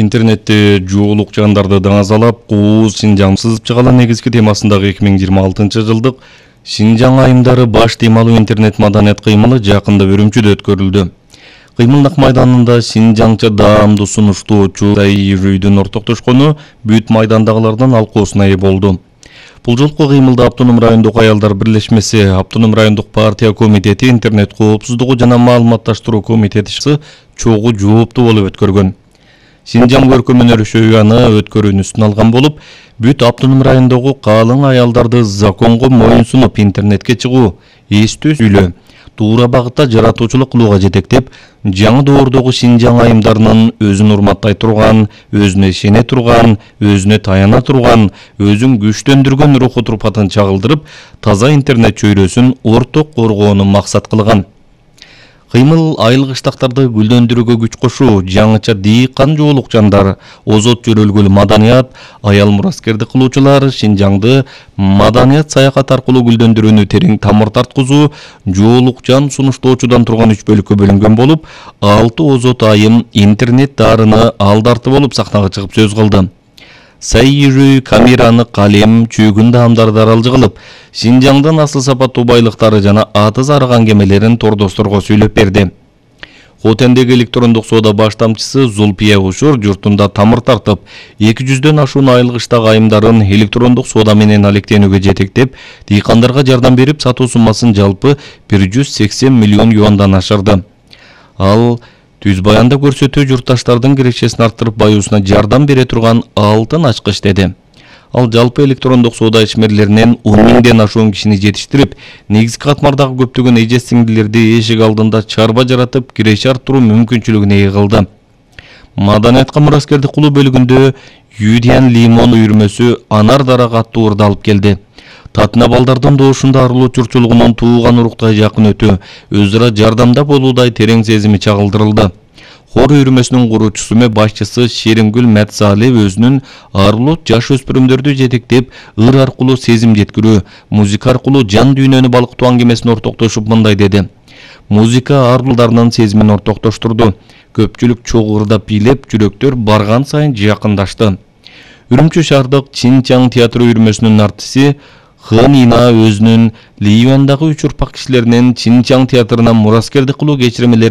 Интернетте жуулук жандарды даңазалап, кууз Шинжаң сызып чыгала негизги темасындагы 2026 жылдык Шинжаң айымдары баш темалуу интернет маданият кыймылы жакында Үрүмчүдө өткөрүлдү. Кыймылдык майданында Шинжаңча даамдуу сунуштоочу Сайрүйдүн ортоктошкону бүт майдандагылардын алкоосуна ээ болду. Бул жолку кыймылда Автоном райондук аялдар бирлешмеси, Автоном райондук партия комитети, интернет коопсуздугу жана маалыматташтыруу комитети чогуу жооптуу болуп өткөргөн. Шинжаң көркөм өнөр аны өткөрүүнү алган болуп, бүт Автоном райондогу калың аялдарды законго моюнсунуп интернетке чыгуу, эстүү сүйлөө, туура багытта жаратуучулук кылууга жетектеп, жаңы доордогу Шинжаң айымдарынын өзүн урматтай турган, өзүнө ишене турган, өзүнө таяна турган, өзүн күчтөндүргөн руху турпатын чагылдырып, таза интернет чөйрөсүн орток коргоону максат кылган. Кыймыл айыл кыштактарды гүлдөндүрүүгө күч кошуу, жаңыча дыйкан жуулук жандар, озот жөрөлгүл маданият, аял мураскерди кылуучулар, Шинжаңды маданият саякат аркылуу гүлдөндүрүүнү терең тамыр тарткызуу, жуулук жан сунуштоочудан турган 3 бөлүккө бөлүнгөн болуп, 6 озот айым интернет дарыны алдарты болуп сахнага чыгып сөз кылды. Сайрүй камераны калем, чөгүн даамдарды аралжы кылып, Шинжаңдын асыл сапаттуу байлыктары жана аты зарыган кемелерин тордосторго сүйлөп берди. Хотендеги электрондук соода баштамчысы Зулпия Ушур журтунда тамыр тартып, 200дөн ашуун айыл кыштагы айымдарын электрондук соода менен алектенүүгө жетектеп, дыйкандарга жардам берип, сатуу суммасын жалпы 180 миллион юандан ашырды. Ал түз баянда көрсөтүү журтташтардын кирешесин арттырып баюусуна жардам бере турган алтын ачкыч деди. Ал жалпы электрондук соода ичмерлеринен 10 миңден ашуун кишини жетиштирип, негизги катмардагы көптөгөн эже сиңдилерди эшик алдында чарба жаратып, киреше арттыруу мүмкүнчүлүгүнө ээ кылды. Маданиятка мураскердик кылуу бөлүгүндө Юдиан Лимон үйүрмөсү анар дарак аттуу уурду алып келди. Татына балдардын доошунда арылуу чурчулугунун тууган уруктай жакын өтүү, өз ара жардамда болуудай терең сезими чагылдырылды. Хор үйүрмөсүнүн куруучусу башчысы Шерингүл Мәтсали өзүнүн арылуу жаш өспүрүмдөрдү жетектеп, ыр аркылуу сезим жеткирүү, музыка аркылуу жан дүйнөнү балкытуу аңгемесин ортоктошуп мындай деди. Музыка арбулдарынын сезимин ортоктоштурду. Көпчүлүк чогуу ырдап бийлеп, жүрөктөр барган сайын жакындашты. Үрүмчү шаардык Шинжаң театр үйүрмөсүнүн артиси Хынина өзүнүн Ливандагы 3 урпак кишилеринен Шинжаң театрына мураскердик кылуу кечиримелерин